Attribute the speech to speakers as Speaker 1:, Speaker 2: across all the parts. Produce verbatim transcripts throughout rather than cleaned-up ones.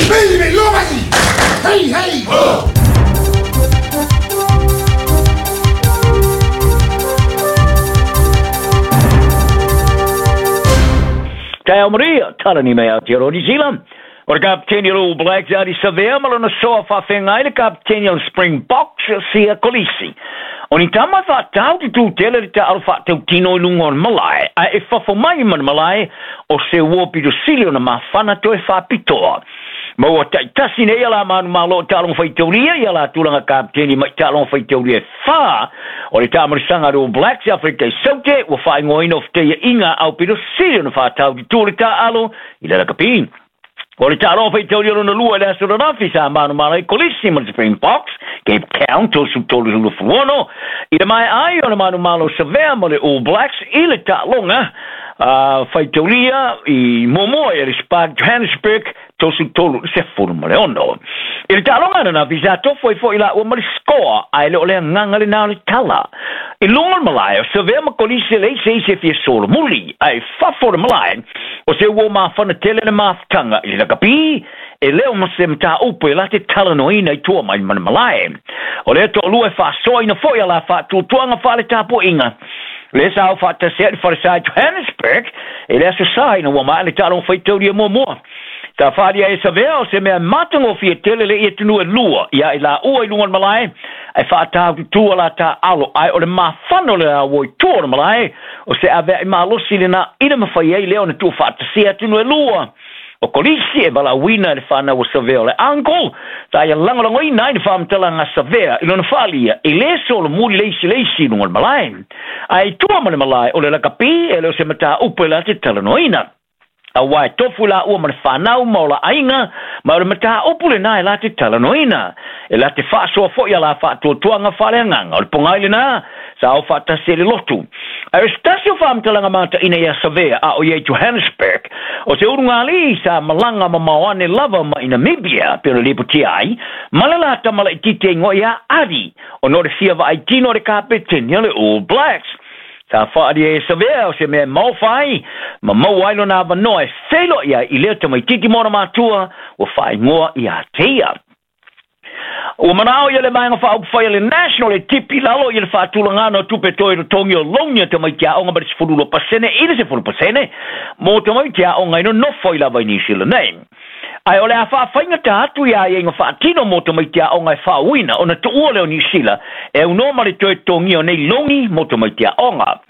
Speaker 1: Hey, hey! Oh!
Speaker 2: Te Maria, tarani mei Aotearoa New Zealand. O le kapiteni o le All Blacks Ardie Savea ma lona soa faafeagai le kapiteni o le Springboks Siya Kolisi. O ni tama faatau tututele le taalo faatautino i luga o le malae, ae e fafo mai ma le malae o se ua pitosili ona mafana toe faapitoa. Ma ua taitasi nei ia la manumalo o taaloga faitaulia ia la tulaga kapiteni mai taaloga faitaulia e fā o le taamalisaga a le All Blacks Afrika i Saute ua faaigoaina o fetaiaʻiga aupitosili ona faatau tutu le taalo i le lakapi. O le taaloga faitaulia lona lua i le aso lanafi sa manumalo ai Kolisi ma le Springboks Cape Town tosu tolu sefulu i le maeai o le manumalo Savea ma le All Blacks i le taaloga uh, faitaulia i muamua i le Spark Johannesburg tosu tolu sefulu ma le ono. I le taaloga ananafi sa tofo ai foʻi laua ma le scoa ae le o le agaga lenā o le tala. I luga o le malae o Savea ma Kolisi le ise ise fia solomuli ae fafo le malae o se ua mafana tele le mafutaga i le lakapi e leo ma se mataupu e la te talanoaina i tua mai ma le malae. O lea toʻalua e faasoaina foʻi a la faatuatuaga faale-tapuaiga. Le sa au faatasi ai le falesa i Johannesburg e le aso sa ina ua maa le taaloga faitaulia muamua. Ta whaalia e Savea o se mea matagofie tele le ia atunuu e lua ia i laua i luga o le malae ae faatau tutua la taalo ae o le mafana o le auo i tua o le malae o se aveaʻi malosi lenā ina mafai ai lea ona tuufaatasia atunuu e lua. O Kolisi e valaauina i le fanau o Savea o le uncle sa ia lagolagoina ai le faamatalaga a Savea i lona faalia e lē solomuli le isi le isi i luga o le malae. Ae i tua ma le malae o le lakapi e le o se mataupu e la te talanoaina. Auā e tofu laua ma le fanau ma o la aiga ma o le mataupu lenā e la te talanoaina. E la te faasoa foʻi a la faatuatuaga faaleagaga o le pogai lenā sa ao faatasi e le lotu. Ae o se tasi o faamatalaga mataʻina ia Savea a o ia i Johannesburg o se ulugalii sa malaga mamao ane lava ma i Namibia pe o le lipotia ai ma le la tamalaititi e igoa iā Ardie ona o le fia vaaitino o le kapeteni o le All Blacks. Sa faalia e Savea o se mea e maofa ai ma maua ai lona avanoa e feiloai ai i lea tamaititi ma ona matua ua faaigoa iā teia. Ua manao ia le vaega faaupufai a le National e tipi lalo ia le faatulagana o tupe toe totogi o louni a tamaiti aoga ma le sefulu lua pasene i le sefulu pasene mo tamaiti aoga i nonofo ai lava i New Zealand nei. Ae o le a faafaigata atu ia aiaiga faatino mo tamaiti aoga e faauina ona tuua lea o New Zealand e aunoa ma le toe totogia o nei louni mo tamaiti aoga.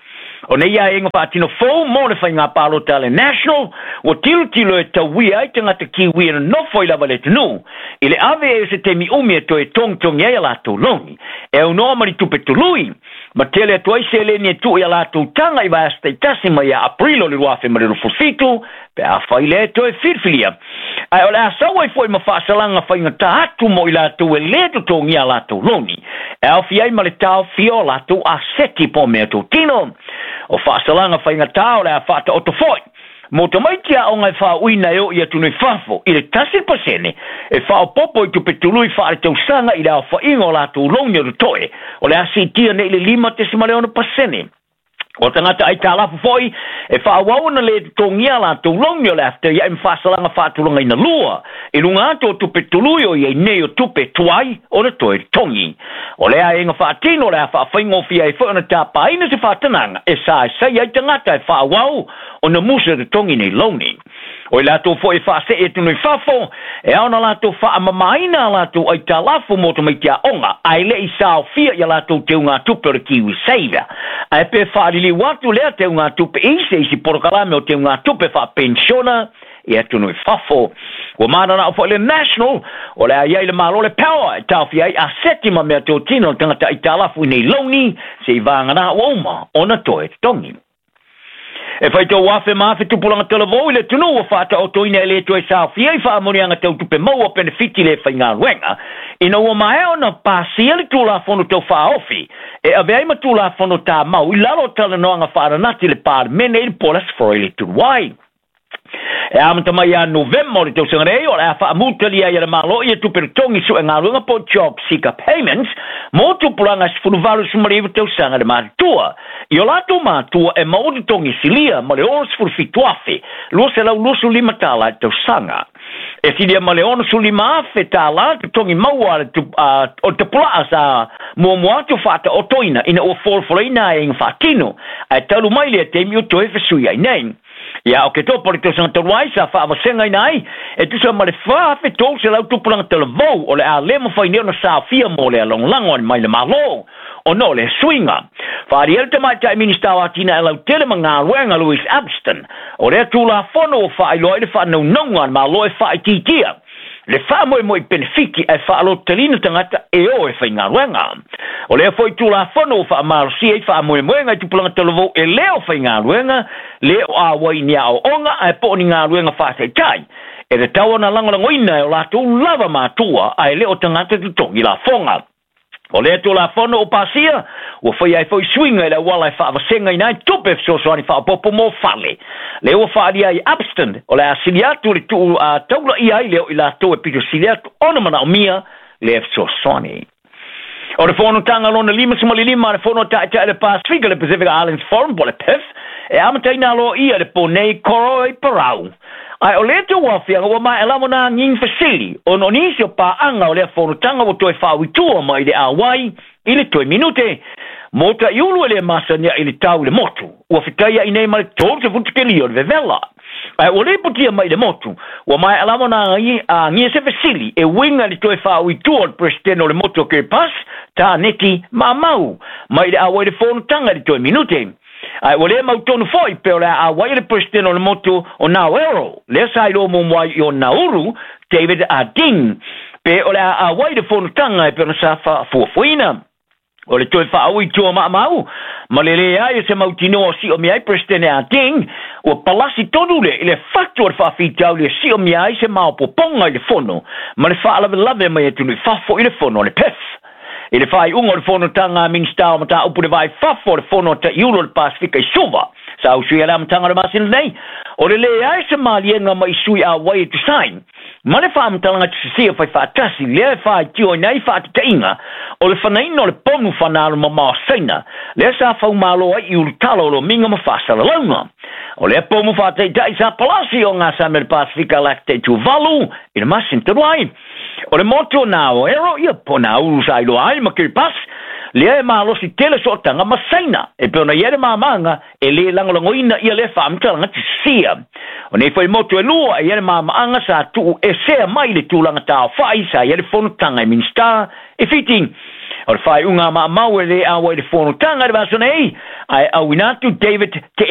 Speaker 2: O nei aiaiga faatino fou mo le faiga palota a le National ua tilotilo e tauia ai tagata Kiwi e nonofo ai lava i le atunuu i le ave ai o se taimi umi e toe togitogi ai a latou louni e aunoa ma le tupe tului ma tele atu ai seleni e tuu ia latou taga i vaiaso taitasi mai ia Aprilo o le lua afe ma le luasefulu fitu pe afai lea e toe filifilia. Ae o le a sau ai foʻi ma faasalaga faigata atu mo i latou e lē totogia a latou louni e aofia ai ma le taofia o latou aseti po o mea totino. O faasalaga faigata o le a faataoto foʻi mo tamaiti aoga e faauina e oo i atunuu i fafo i le tasi pasene e faaopopo i tupe tului faaletausaga i le aofaiga o latou louni o totoe o le a siitia nei le lima tesima le ono pasene. O tagata aitalafu foʻi e faaauau ona lē totogia latou louni o le a fetaiaʻi ma faasalaga faatulagaina lua i luga atu o tupe tului o iai nei o tupe tuai ona toe totogi. O lea aiaiga faatino o le a faafaigofie ai foʻi ona tapaina se faatanaga e saesai ai tagata e faaauau ona musa totogi nei louni. O i latou foʻi e faasee atunuu i fafo e ao ona latou faamamaina a latou aitalafu mo tamaiti aoga ae leʻi saofia ia latou teugatupe o le Kiwi Saver. Ae pe faaliliu atu lea teugatupe i se isi polokalame o teugatupe faapenisiona i atunuu i fafo. Ua mananao foʻi le National o le a iai le Malo le power e taofia ai aseti ma mea totino o le tagata aitalafu i nei louni seʻi vaganā ua uma ona toe totogi. E faitau afe ma afe tupulaga talavou i le atunuu ua faataotoina e lē toe saofia i faamanuiaga tautupe maua penefiti le faigaluega ina ua maea ona pasia le tulafono taufaaofi e ave ai ma tulafono tamau i lalo o talanoaga faananati i le Palemene i le po le Aso Faraile le Tuluai. E amata mai ia Novema o le tausaga nei o le a faamutalia ai e le Malo ia tupe totogi suegaluega po o Job Seeker Payments mo tupulaga e sefulu valu sefulu ma le iva tausaga le matutua. I o latou matua e maua totogi silia ma le onosefulu fitu afe luaselau luasefulu lima tala i le tausaga. E silia ma le ono sefululima afe tālā totogi maua o le tapulaa sa muamua atu faataotoina ina ua folafolaina aiaiga faatino ae talu mai lea taimi ua toe fesuiai nei. Ia o ke topo le tausaga talu ai sa faavasegaina ai e tusa ma le fa afe tolu selau tupulaga talavou o le a lē mafai nei ona saofia mo le alagolago ai mai le Mālō ona o le suiga. Faaalia le tamaitai Minista o Atinae Lautele ma Galuega Louis Abston o lea tulafono ua faailoa ai le faanaunauga a le Mālō e faaitiitia le faamoemoe i penefiti ae faalototaliina tagata e o e faigaluega. O lea foi tulafono ua faamalosia ai faamoemoega i tupulaga talavou e lē o faigaluega, lē o auai i ni aoaoga ae po o ni galuega faataitai e tatau ona lagolagoina e o latou lava matua ae lē o tagata totogi lafoga. O lea tulafono o pasia ua faia ai foi suiga i le auala e faavasegaina ai tupe fesoasoani faaopoopo mo fale. Lea ua faaalia ai Upston o le a sili atu le tuu taulaia ai lea o i latou e pito sili atu ona manaomia lea fesoasoani. O le fonotaga lona limasefululima a le fono taitai le Pasifika, le Pacific Islands Forum po le P I F, e amataina aloaia le po nei Koro i Parau. Ae o lea tauaofiaga ua maea lava ona agiga fesili ona o nisi o paaga o lea fonotaga ua toe faauitua mai le auai i le toe minute. Mo taiulu e le masaniai i le tau i le motu, ua fetaiai nei ma le tolu sefulu o le vevela. Ae ua lipotia mai le motu, ua maea lava ona agia se fesili e uiga i le toe faauitua o le Peresetene o le motu o Kiribati, Taneti Maamau, mai le auai i le fonotaga i le toe minute. Ae ua le mautonu foi pe o le a auai le Peresetene o le motu o Naoero, lea sa iloa muamua ai i o Nauru, David Arding, pe o le a auai le fonotaga e pei ona sa faafuafuaina. O le toe faaui tua maamau, ma le leai o se mautinoa o siomia ai Peresetene Arding, ua palasi tonu le i le fatu o le faafitauli e siomia ai se maopoopoga i le fono, ma le faalavelave mai atunuu i fafo i le fono o le P I F. I le faaiuga o le fonotaga a Minista o Mataupu le Va i Fafo o le fono a taiulu o le Pasifika i Suva, sa usuia le amataga o le masina nei, o le leai se maliega mai sui auai e tusai, ma le faamatalaga tusisia faifaatasi lea e faaitioina ai faatataiga o le fanaina o le pomu fanalomamao Saina, lea sa faumālo ai i ulutala o lomiga ma faasalalauga. O lea pomu faataitai sa palasi o gasame le Pasifika Lactate Tuvalu i le masina talu ai. O le motu o Naoero ia po Nauru sa iloa ai ma Kiribati, lea e malosi tele sootaga ma Saina, e pei ona i ai le mamaga e lē lagolagoina ia lea faamatalaga tusisia. O nei foi motu e lua e i ai le mamaaga sa tuu esea mai le tulaga taofai sa i ai le fonotaga e Minista e Fiti. O le faaiuga a maamau e lē auai le fonotaga i le vaiaso nei, ae auina atu David Te